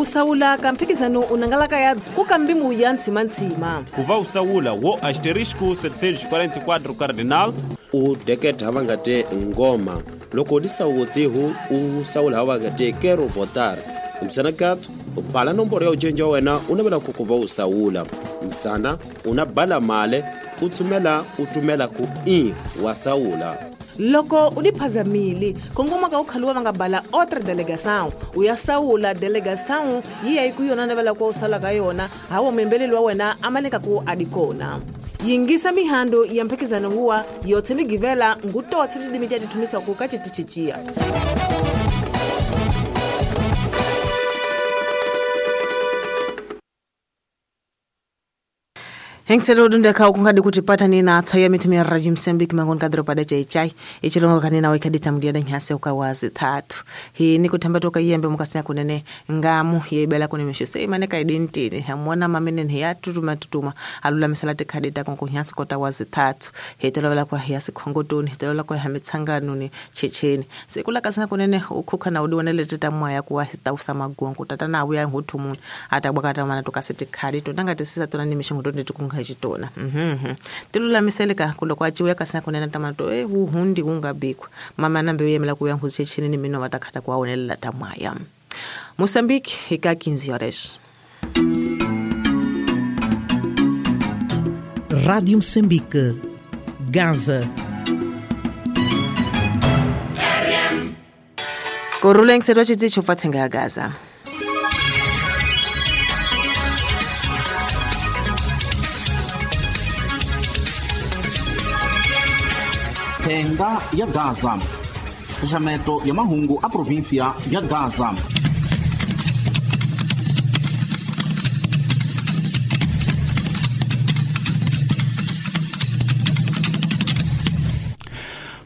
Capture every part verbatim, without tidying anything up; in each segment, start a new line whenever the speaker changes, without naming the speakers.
Usawula ka mphikizano unangalaka ya ku kambimu ya ntshima-ntshima.
Kuva usawula wo asterisco setecentos e quarenta e quatro cardinal
u deketa hava nga te ngoma loko di sawutihu u sawula hava nga te quero votar msana kat u bala nomboro ya ujenja wena u navela ku kuva u sawula msana una bala male u tsumela u tumela ku i wa sawula.
Loko u diphazamile kongoma ka u khaluwa va nga bala outra delegação u ya sawula delegação yi ya ku yona navela ku u sala ka yona hawo membeleli wa wena amaleka ku adikona. Yingisa mihando ya mphikizano huwa yothe migivela ngutotse tidimi tya tithumisa ku ka chitichichia. Hengiselo dunda ka ukungadi kutipata nina atwa ya mitumia ya Raji Msambiki mangon kadro pada chai chai ichilongo kanina weka ditamudia danyi ukawazi tatu. Hii ni kutamba toka yembe mukasina kunene ngamu ya ibela kune mishuse imaneka idintini hamuona mamene ni ya tutuma tutuma alula misalate kadita konko nyasi kota wazi tatu. Hitelola kwa hiasi kongotoni hitelola kwa hamitsanganuni checheni. Sekula kasina kunene ukuka na uduwanele teta mwaya kuwa hita usama guangu tata na uya hutumun atabwakata mana tukasete kadi tunanga tisisa tunani mishungu tukunga chitona. Mhm. Tilula miseleka kuloko achiwe kasina kunena tamato eh hundi ungabikwa. Mama nambe uyemela kuya nguchecheni ni mino watakata kwa onelela tamwaya. Mozambique ika quinze horas.
Rádio Moçambique, Gaza.
Koruleng serwa chitsi chofatsenga Gaza.
Thenga ya Gaza. Xaxameto ya mahungu a província ya Gaza.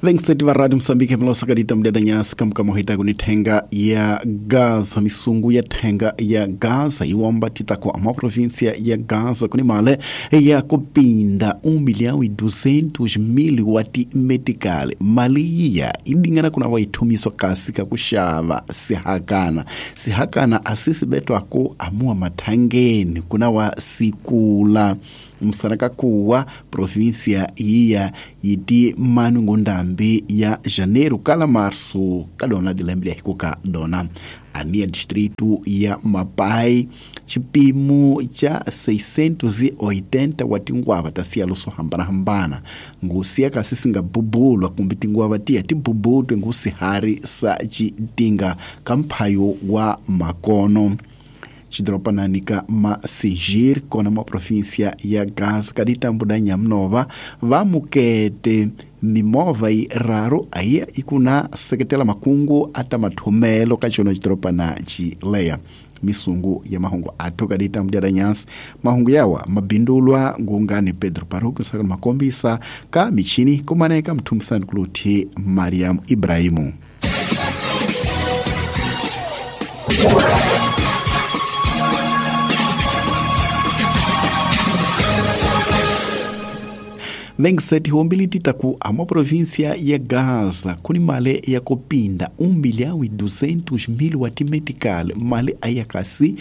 Vengseti va Radio Mozambique mlosa kadita mdada nyasi kamka mohita kuni thenga ya Gaza misungu ya thenga ya Gaza iwomba titako ama província ya Gaza kuni male ya kupinda um milhão e duzentos mil wati medical mali ya idingana kuna waitumiso kasi kakushava sihakana sihakana asisi beto ako amua mathangeni kuna wa sikula msanaka kuwa província iya yiti manu ngundambi ya janeiro kala março kadona dilembre hikuka dona ania distrito ya Mapai chipimo cha seiscentos e oitenta watingwava tasia luso hambana hambana ngusia kasisi ngabubulwa kumbi tingwava tia tibubutwe ngusihari sa chitinga kamphayo wa makono chidropananika Masijir kona ma província ya Gaza kaditambuda nyamnova vamukete mimova i raro aia ikuna seketela makungu ata mathumelo ka chona chidropana chileya misungu ya mahungu athu kaditambuda nyasi mahungu yawa mabindulwa ngungani Pedro Paruku saka makombisa ka michini kumaneka mthumisani kuluthi Mariam Ibrahimu. Vengseti hombili titaku ama província ya Gaza kuni male ya kupinda um milhão e duzentos mil wati medical male ayakasi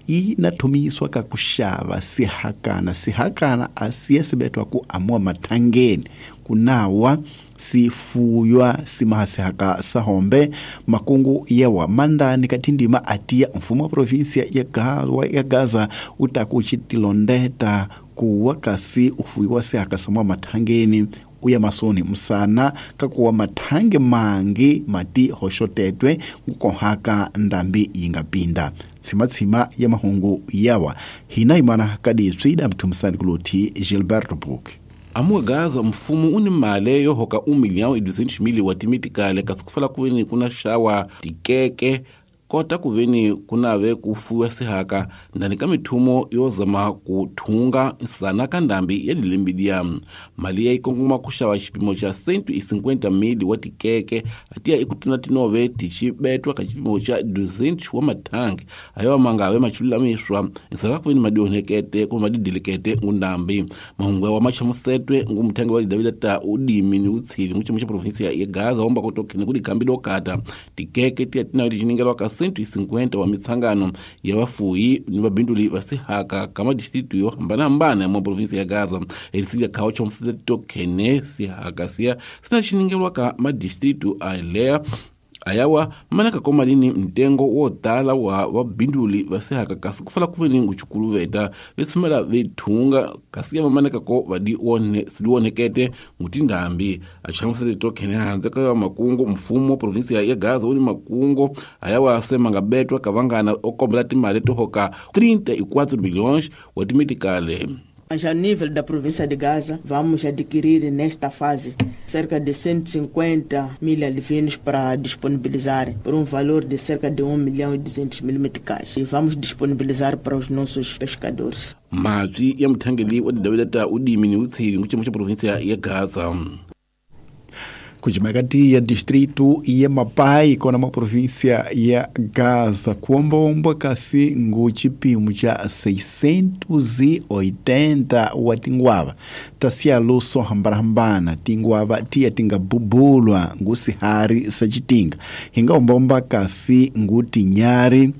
inathumiswa kakushava sihakana sihakana asiya sibetwa ku amua mathangeni kunawa sifuywa simahasihaka sahombe makungu yawa mandani katindima atia mfumo wa província ya Gaza, ya Gaza utakuchitilondeta kuwa kasi ufuiwa sihaka samwa mathangeni uya masoni msana kakuwa mathange mangi mati hoshotetwe kukohaka ndambi yingapinda tsimatsima ya mahungu yawa hina imana kadi tswida mthumisani kuluthi Gilberto Book.
Amuwa Gaza mfumo uni male yo hoka um milhão e duzentos mil watimetikale kasi kufala kuveni kuna shawa tikeke kota kuveni kunave kufuwa sihaka ndani ka mithumo yozama kuthunga nsana ka ndambi ya dilembidia mali ya ikongoma kuxava xipimo xa cento e cinquenta mil wa tikeke atiya ikutina tinove tixibetwa ka xipimo xa duzentos wa mathangi ayo mangave machulamishwa nsana kuveni madionekete kumbe madidilikete ngundambi mahungu wa machamusetwe ngumuthangi wa lidavila ta udimi ni utshivi nguchimo xa provinsia ya Gaza womba kutokhene kudi kambi lokata tikeke tiya tinave tixiningelwa ka cento e cinquenta wa mitsangano ya vafuyi ni vabinduli va sihaka ka madistritu yo hambanahambana mwa provinsia ya Gaza. Elisili ya khao chamusela tokhene sihaka siya sina xiningelwa ka madistritu alea ayawa manaka komalini mtengo wo tala wa vabinduli va sihaka kasi kufala kuveni nguchukuluveta vetsumela vethunga kasi ya vamanaka ko vadi one siliwonekete ngutindambi. Achamusele tokhene hanze ka makungo mfumo provinsia ya Gaza uni makungo ayawa sema ngabetwa kavangana okombela timali tohoka trinta e quatro milhões wa timetikale.
Já no nível da província de Gaza, vamos adquirir nesta fase cerca de cento e cinquenta mil alevinos para disponibilizar por um valor de cerca de um milhão e duzentos mil meticais. E vamos disponibilizar para os nossos pescadores.
Mazwi ya muthangeli wa didaweleta udimi ni utshiri nguchimo cha província ya Gaza.
Kujimakati ya distrito ya Mapai kona ma província ya Gaza kuombaomba kasi ngu chipimo cha seiscentos e oitenta wa tinguava tasialo so hambarahambana tinguava tiya tingabubulwa ngu sihari sachitinga hingaombaomba kasi ngu tinyari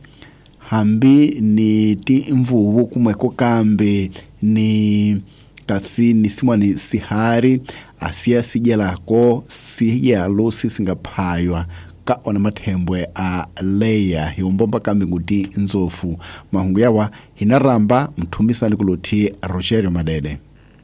hambi ni timvuvu kumweko kambe ni kasi ni simwani sihari asiya sijelako siyalo sisingaphaywa ka ona mathembwe a leya hiumbomba kambi nguti nzofu mahungu yawa hinaramba mthumisani kuluthi Rogerio Madede.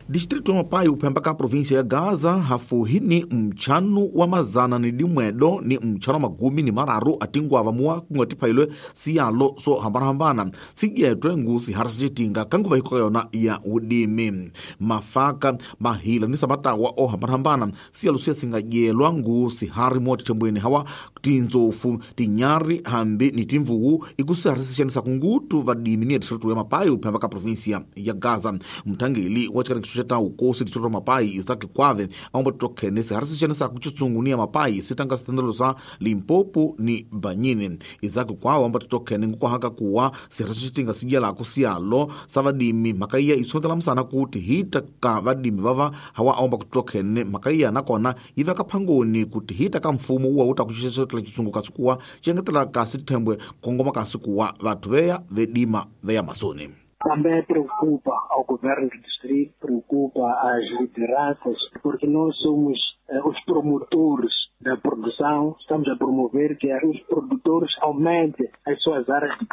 Distrito wa Mapai uphemba ka província ya Gaza hafuhini mchanu wa mazana ni dimwedo ni mchanu wa magumi ni mararu atingwava muwa kungatiphailwe siyalo so hambanahambana sijetwe ngu sihari sicitinga kanguva hikoka yona ya udimi mafaka mahila ni samatawa o hambanahambana siyalo siya singadyelwa ngu sihari muwa tithembweni hawa tindzofu tinyari hambi ni timvuwu ikusihari sixanisa kungutu vadimi ni ya distrito ya Mapai uphemba ka província ya Gaza. Mthangeli wa tshikanikiso ta ukosi distrito Mapai Isaac Kwave aomba tokhene sihari sixanisa kuchitsungunia Mapai sitanga sitendelo sa Limpopo ni Banyini. Isaac Kwave aomba tokhene ngukwahaka kuwa sihari sicitinga sidyalako siyalo sa vadimi makaiya isondzela msana kuti hita ka vadimi vava hawa aomba kutokhene makaiya nakona yiveka phangoni kuti hita ka mfumo uwa uta kuxixetela chitsungu kasi kuwa xiengetela kasi thembwe kongoma kasi kuwa vathu veya vedima veya masoni.
Também preocupa ao governo do distrito, preocupa as lideranças, porque nós somos eh, os promotores da produção, estamos a promover que os produtores aumentem as suas áreas de